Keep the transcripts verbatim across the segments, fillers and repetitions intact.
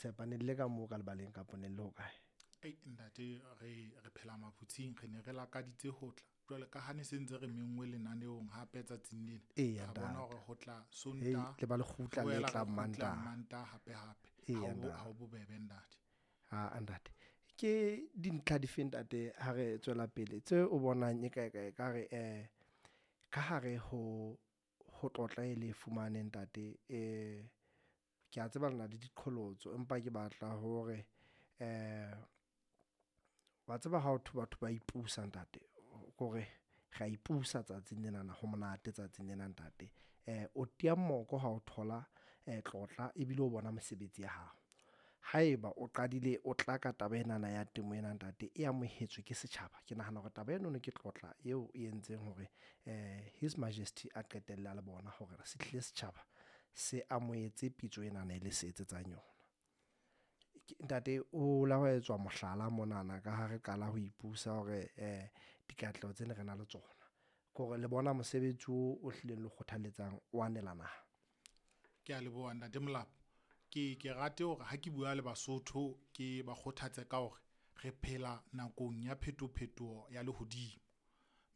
tshepa ne le ka moo ka lebaleng kapa ne le ho kae? Ei ntate, re re phela maphutsing, re ne re lakaditse ho tla. Jwale ka ha ne se ntse re menngwe lenaneong hape tsatsing lena. Eya, Ra bona ntate. hore ho tla Hei, Sontaha, le ba lekgutla re le boela re tlang kgutla Mantaha. Mantaha hape hape. Eya, Ha ho bo- ntate. ha ho bobebe ntate. Ha ntate. Ke dintlha dife ntate ha re tswela pele tse o bonang e ka e ka re eh ka hare ho ho tlotla e le fumane ntate, eh ke a tseba lena le diqholotso, empa ke batla hore eh wa tseba ha ho thwe batho ba ipusa ntate, kore re a ipusa tsatsing lenana, ho monate tsatsing lena ntate. Eh o tiya moko ha o thola eh tlotla ebile o bona mesebetsi ya hao. Haeba o qadile o tla ka taba enana ya temo ena ntate, e amohetswe ke setjhaba, ke nahana hore taba enono ke tlotla eo e entseng hore eh His Majesty a qetelle a le bona hore se tlile setjhaba se amohetse pitso enana e le se etsetsang yona. Ntate o la wa etswa mohlala monana ka ha re qala ho ipusa hore eh dikatleho tsene re na le tsona. Ke hore le bona mosebetsi o o hlileng le kgothaletsang o anela naha. Ke a leboha ntate Molapo. Ke ke rate hore ha ke bua le Basotho ke ba kgothatse ka hore re phela nakong ya phetophetoho ya lehodimo.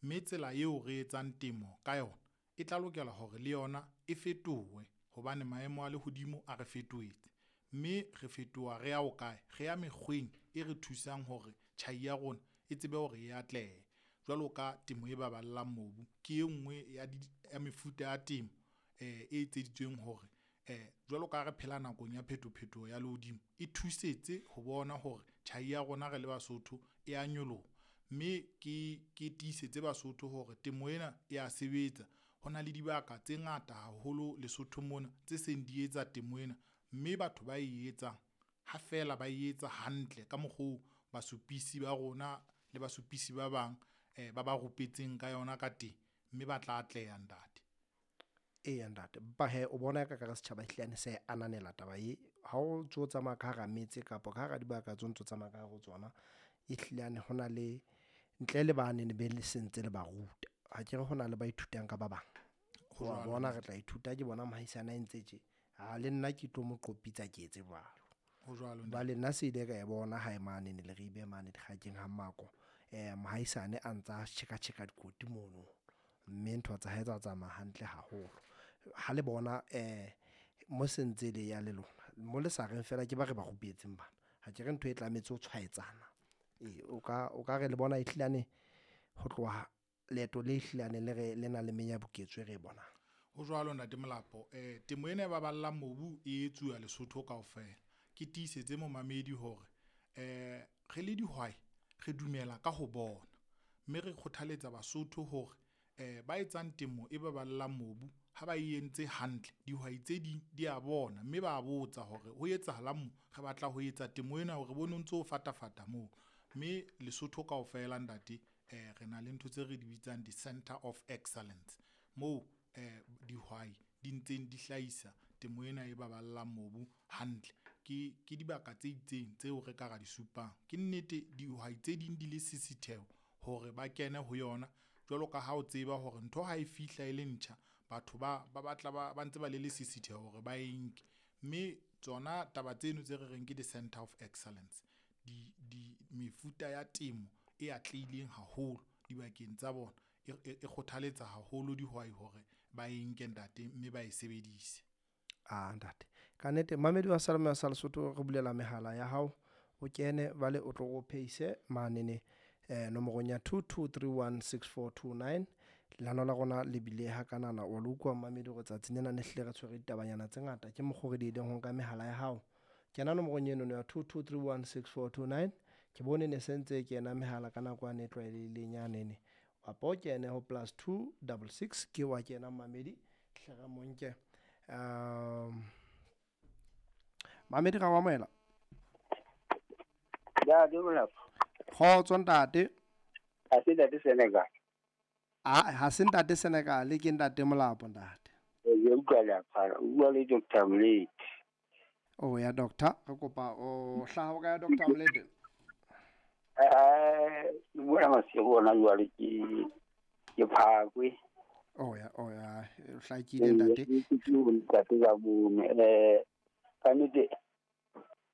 Mme tsela eo re etsang temo ka yona e tla lokela hore le yona e fetohe hobane maemo a lehodimo a re fetohetse. Mme re fetoha re ya ho kae? Re ya mekgweng e re thusang hore tjhai ya rona e tsebe hore e atlehe. Jwalo ka temo e baballang mobu, ke e nngwe ya di ya mefuta ya temo eh e etseditsweng hore eh jwalo ka ha re phela nakong ya phetophetoho ya lehodimo, e thusetse ho bona hore tjhai ya rona re le Basotho e a nyoloha. Mme ke ke tiisetse Basotho hore temo ena e a sebetsa. Ho na le dibaka tse ngata haholo Lesotho mona tse seng di etsa temo ena, mme batho ba e etsang ha feela ba e etsa hantle ka mokgo basupisi ba rona le basupisi ba bang eh ba ba rupetseng ka yona ka teng, mme ba tla atleha ntate. Eya ntate, empa hee o bona ka kare setjhaba ehlile se ananela taba e. Ha o ntso tsamaya ka hara metse kapa ka hara dibaka tseo ntso tsamaya ka hare ho tsona, ehlile ho na le ntle le bane be le sentse le ba ruta. Akere hona le ba ithutang ka ba bang. Ho Wa jwalo bona re ntate. tla ithuta ke bona mohaisane a entse tje, ha le nna ke tlo mo qopitsa ke etse jwalo. Ho jwalo ntate. Jwale nna se ile ka e bona hae mane ne Leribe mane dikgakeng ha Mako. Eh mohaisane a ntsa tjheka tjheka dikoti mono, mme ntho tsa hae tsa tsamaya hantle haholo. Ha le bona eh mo sentse le ya le lona, mo le sa reng fela ke ba re ba rupetseng bana. Ha ke re ntho e tlametse ho tshwaetsana. Ee, o ka o ka re le bona ehlilane ho tloha leeto le ehlilane le re le na le menyabuketso e re e bonang. Ho jwalo ntate Molapo, eh temo ena e baballang mobu e etsuwa Lesotho kaofela. Ke tiisetse momamedi hore eh re le dihwai re dumela ka ho bona, mme re kgothaletsa Basotho hore eh ba etsang temo e baballang mobu ha ba e entse hantle, dihwai tse ding di a bona mme ba botsa hore ho etsahalang mo, re batla ho etsa temo ena hore bone o ntso fatafata moo. Mme Lesotho kaofela ntate eh re na le ntho tse re di bitsang di-center of excellence moo eh dihwai di ntseng di hlahisa temo ena e baballang mobu hantle. Ke ke dibaka tse itseng tseo re ka ra di supang. Ke nnete dihwai tse ding di le sisitheho hore ba kene ho yona jwalo ka ha o tseba hore ntho ha e fihla e le ntjha, batho ba ba batla ba ba ntse ba le lesisitheho hore ba e nke. Mme tsona taba tseno tse re reng ke di-center of excellence di di mefuta ya temo e atlehileng haholo dibakeng tsa bona e e kgothaletsa haholo dihwai hore ba e nke ntate mme ba e sebedise. Ah ntate, ka nnete mamedi wa Seyalemoya sa Lesotho re bulela mehala ya hao, o kene jwale o tlo o phehise manene eh nomorong ya two two three one six four two nine. Lehano la rona le bile ha kanana wa le utlwa mamedi hore tsatsing lena ne hlile re tshwere ditabanyana tse ngata, ke mokgwa o re diehileng ho nka mehala ya hao. Kena nomorong eno ya two two three one six four two nine. Ke bone ne sentse kena mehala ka nako yane e tlwaelehileng yanene. Kapa o kene ho plus two double six ke wa kena mamedi hle re mo nke. Um mamedi ra o amohela. Ntate Molapo. Kgotso ntate. Ha se ntate Senegal. Ah, ha se ntate Senegal, ke ntate Molapo ntate. Ke utlwa le apara, o bua le Doctor Mlete. Oh ya doctor, re kopa o hlaha o kae Doctor Mlete? Eh, ke bua masigo ona jwale ke ke Phakwe. Oh ya, oh ya, o hlakile ntate. Ke ntate ka bone, eh ka nnete